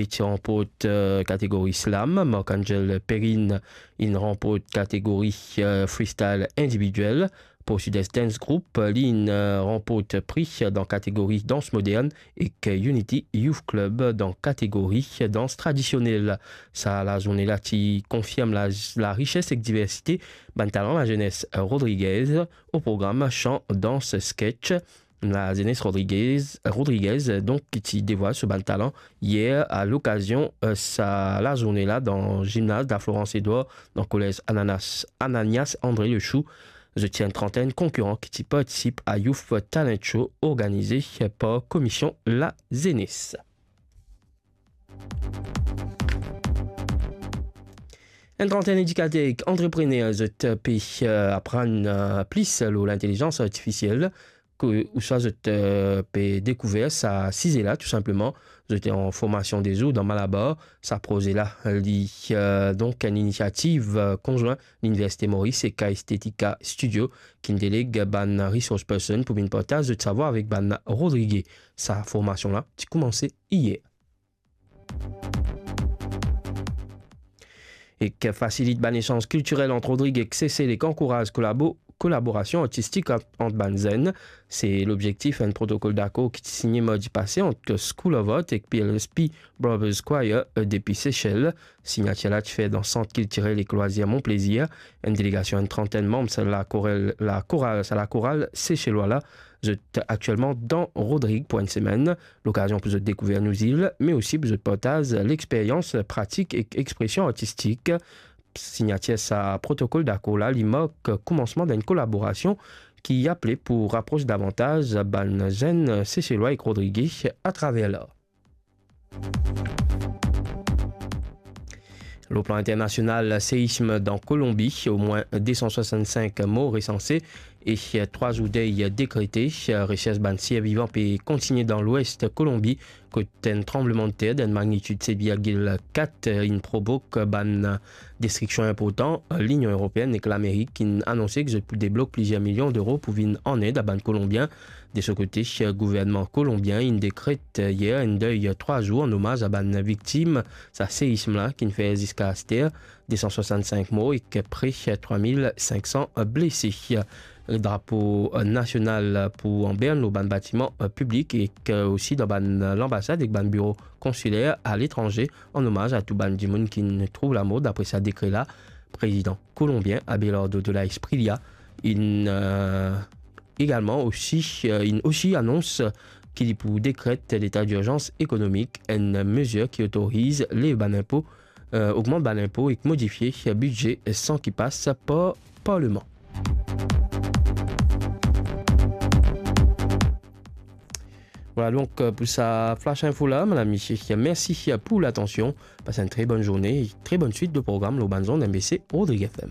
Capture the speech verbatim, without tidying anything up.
Li ti ranport, eh, kategori slam, Marc-Angel Perrine inn ranport kategori, eh, freestyle individuel. Pou Sud-Est Dance Group, li inn, eh, ranport pri dan kategori dans modern ek Unity Youth Club dan kategori dans tradisionel. Sa lazourne la ti konfirm la, larises ek diversite bann talan lazenes Rodriguez, o program chan, dans, sketch. Lazenes Rodriguez, Rodriguez, donk, ki ti devwal so bann talan yer a lokazion, eh, sa lazourne la dan zimnaz La Florence Edouard, dan kolez Ananas, Ananias André Lechou. Zot ti enn trantenn konkiran ki ti partisip a Youth Talent Show organize par Komision Lazenes. Enn trantenn edikater ek antreprener zot pe, eh, aprann, eh, plis lor lintelizans artifisiel, ke, ouswa zot, eh, pe dekouver sa size la, tou sinpleman. Zot an formasion de zour dan Malabar. Sa proze la, li, eh, donk enn inisiativ, eh, konzwin Liniversite Moris ek Aesthetica Studio, ki deleg bann resource person pou vinn partaz zot savwar avek bann Rodrige. Sa formasion la ti koumanse yer. Ek fasilit bann esanz kiltirel ant Rodrig ek Sesel ek ankouraz kolabo-, kolaborasion artistik ant, ant bann zenn. Se lobzektif enn protokol dakor ki ti signe mardi pase ant School of Art ek P L S P Brothers Choir, eh, depi Sesel. Signatir la ti fer dan Sant Kiltirel ek Lwazir Mon Plaisir. Enn delegasion, enn trantenn manb sa lakoral, lakoral, sa lakoral seselwa la, zot aktielman dan Rodrig pou enn semenn. Lokazion pou zot dekouver nou zil, me osi pou zot partaz lexperyans pratik ek expresion artistik. Signatir sa protokol dakor la, li mark koumansman dan enn kolaborasion ki aple pou rapros davantaz bann zenn Seselwa ek Rodrige atraver lar. Lor plan internasional, seism dan Kolonbi, omwin de san swasant-sink mor resanse e trwa zour dey dekrete. Resers bann sirvivan pe kontigne dan lwes Kolonbi, kot enn tranblemann ter dan magnitid set virgil kat inn provok bann destriksion inportan. Linion Eropeenn ek Lamerik inn anonse ki zot pou deblok plizier milion dero pou vinn an ed a bann Kolonbien. De so kote, gouvernman kolonbien inn dekret yer enn dey trwa zour an omaz a bann viktim sa seism la, ki'nn fer ziska aster de san swasant-sink mor ek pre trwa mil sink san blese. Drapo nasional pou anbern lor bann batiman piblik ek osi dan bann lanbasad ek bann biro konsiler aletranze, an omaz a tou bann dimoun ki'nn trouv lamor, dapre sa dekre la. Prezidan kolonbien Abelardo de la Espriella inn, eh, egalman osi, eh, inn osi anons ki li pou dekret leta dirzans ekonomik, enn mezir ki otoriz lev bann inpo, eh, ogmant bann inpo ek modifie bidze san ki pas par parleman. Vwala donk, eh, pou sa flash info la, madam, misie, mersi pou latansion. Pas enn tre bonn zourne, tre bonn swit de program lor bann zond M B C Rodrig F M.